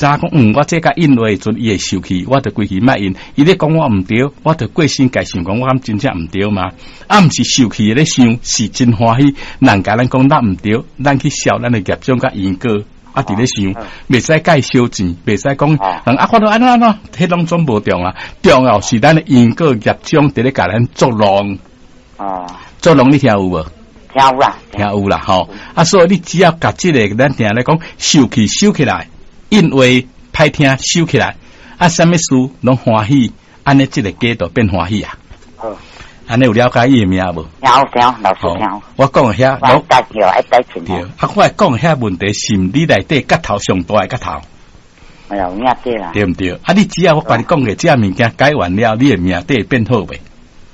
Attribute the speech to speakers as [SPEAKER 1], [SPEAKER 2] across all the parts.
[SPEAKER 1] 知影講，我這共應話的時陣，伊會受氣，我就規氣莫應。伊咧講我毋對，我就過身家想講，我敢真正毋對嗎？啊，毋是受氣的咧想，是真歡喜。人共咱講咱毋對，咱去笑咱的業障佮因果。啊，佇咧想，袂使共伊相戰，袂使講，人啊，看著按怎按怎，彼攏總無重要。重要是咱的因果業障佇咧共咱作弄。作弄你聽有無？
[SPEAKER 2] 聽有啦，
[SPEAKER 1] 聽有啦，吼。啊，所以你只要共這个，咱定咧講，受氣收起來，應話歹聽收起來，啊，啥物事攏歡喜，按呢這个家就變歡喜啊。
[SPEAKER 2] 好，
[SPEAKER 1] 按呢有了解伊的名無？
[SPEAKER 2] 有聽，老師聽。
[SPEAKER 1] 我講的遐，
[SPEAKER 2] 我帶叫愛帶錢。
[SPEAKER 1] 對，啊，我講的遐問題是毋你內底結頭上大的結頭？
[SPEAKER 2] 哎呀，有影對啦。
[SPEAKER 1] 對毋對？啊，你只要我共你講的這物件解完了，你的命底會變好袂？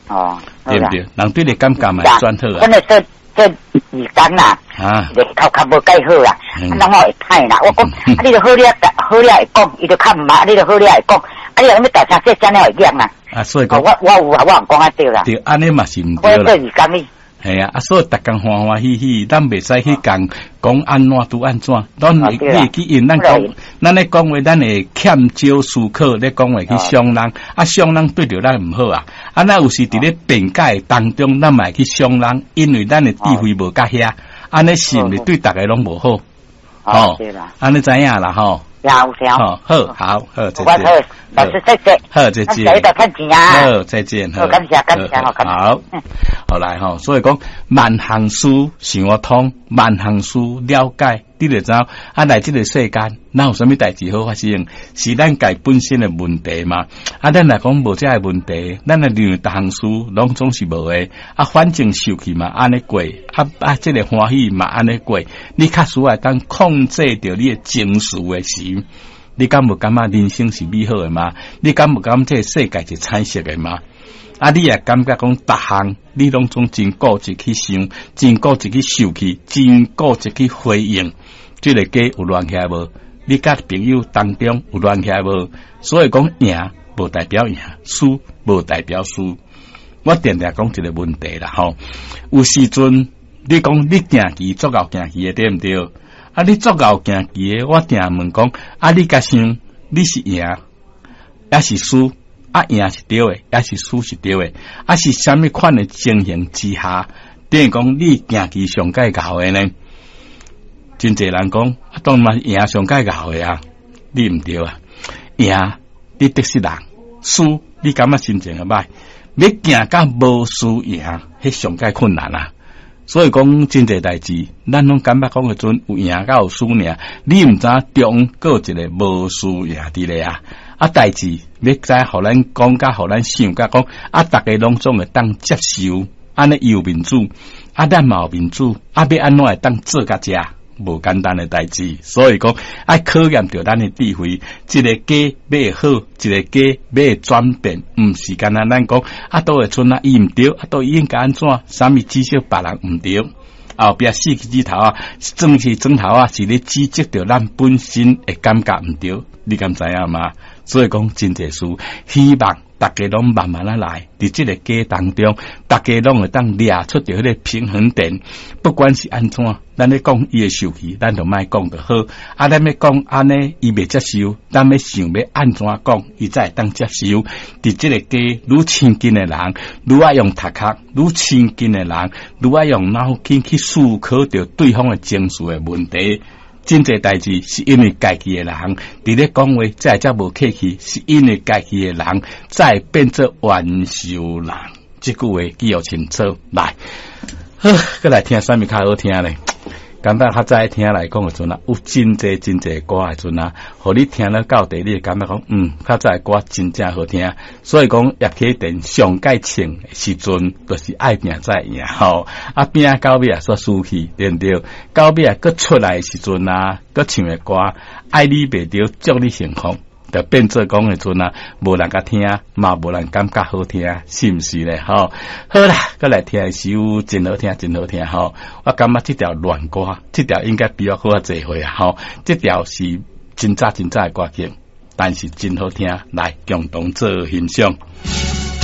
[SPEAKER 2] 哦，
[SPEAKER 1] 對毋對？人對你感覺嘛會轉好啊。
[SPEAKER 2] 本來做做義工啦，頭殼無蓋好啦，啊，人我會歹啦。我講，啊，你著好了，好了會講，伊就較毋捌，你著好了會講，啊，你若欲大聲細聲了會厭啊。
[SPEAKER 1] 啊，所以講，
[SPEAKER 2] 我有啊，我毋講啊對啦。
[SPEAKER 1] 對，按呢嘛是毋對啦。
[SPEAKER 2] 我做義工呢。
[SPEAKER 1] 係啊，啊，所以逐工歡歡喜喜，咱袂使去共講按怎拄按怎，咱會你會記因咱講，咱咧講話，咱會欠少思考咧講話去傷人，啊，傷人對著咱毋好啊。啊，咱有時佇咧辯解當中，咱嘛會去傷人，因為咱的智慧無佮遐，按呢是毋是對逐个攏無好？
[SPEAKER 2] 吼，
[SPEAKER 1] 按呢知影啦吼。
[SPEAKER 2] 有有。
[SPEAKER 1] 好，好，好，再見。
[SPEAKER 2] 好，老師再見。
[SPEAKER 1] 好，再見。好，再見。
[SPEAKER 2] 好，感謝感謝，
[SPEAKER 1] 好，好來吼，所以講萬項事想得通，萬項事了解，你就知影啊，來這个世間，哪有啥物代誌好發生？是咱家本身的問題嘛？啊，咱若講無這个問題，咱若認為逐項事攏總是無的，啊，反正受氣嘛按呢過，啊啊，這个歡喜嘛按呢過，你較需會當控制著你的情緒的時，你敢無感覺人生是美好的嗎？你敢無感覺這个世界是彩色的嗎？啊，你也感覺講逐項你攏總真固執去想，真固執去受氣，真固執去回應，這个家有亂起來無？你佮朋友當中有亂起來無？所以講贏無代表贏，輸無代表輸。我定定講一个問題啦，吼，有時陣你講你行棋足𠢕行棋的對毋對？啊，你足𠢕行棋的，我定問講，啊，你共想你是贏抑是輸？啊，贏是對的，抑是輸是對的？啊，是啥物款的情形之下，等於講你行棋上蓋𠢕的呢？真濟人講，啊，當然嘛贏上蓋𠢕的啊，你毋對啊！贏你得失人，輸你感覺心情會歹，欲行甲無輸贏，彼上蓋困難啊！所以講真濟代誌，咱攏感覺講的陣有贏佮有輸爾，你毋知影中閣有一個無輸贏佇咧啊！啊，代誌欲知予咱講甲予咱想甲講，啊，逐家攏總會當接受，按呢伊有面子，啊，咱嘛有面子，啊，欲按怎會當做甲遮？無簡單的代誌，所以講愛考驗著咱的智慧，一个家欲好，一个家欲轉變，毋是干焦咱講啊，佗位賰啊，伊毋對，啊，佗應該按怎？啥物指責別人毋對，後壁四個指頭啊，裝是指頭啊，是咧指責著咱本身的感覺毋對，你敢知影嗎？所以講真濟事，希望逐家攏慢慢仔來，佇這个家當中，逐家攏會當掠出著彼个平衡點。不管是按怎，咱咧講伊會受氣，咱就莫講就好。啊，咱欲講按呢，伊袂接受，咱欲想欲按怎講，伊才會當接受。佇這个家愈親近的人，愈愛用頭殼；愈親近的人，愈愛用腦筋去思考著對方的情緒的問題。真濟代誌是因為家己的人佇咧講話，才會遮無客氣；是因為家己的人才會變做冤仇人。這句話記予清楚。來，好，閣來聽啥物較好聽咧？感覺較早聽來講的陣啊，有真濟真濟歌的陣啊，予你聽了到底，你會感覺講，較早的歌真正好聽。所以講，葉啟田上蓋唱的時陣，就是愛拼才會贏吼。啊，拼到尾啊，煞輸去，對毋對？到尾啊，閣出來的時陣啊，閣唱的歌，愛你袂著，祝你幸福。就變做講的陣啊，無人共聽，嘛無人感覺好聽，是毋是咧？吼，好啦，閣來聽一首真好聽，真好聽吼。我感覺這條戀歌，這條應該比我閣較濟歲啊！吼，這條是真早真早的歌曲，但是真好聽，來共同做欣賞。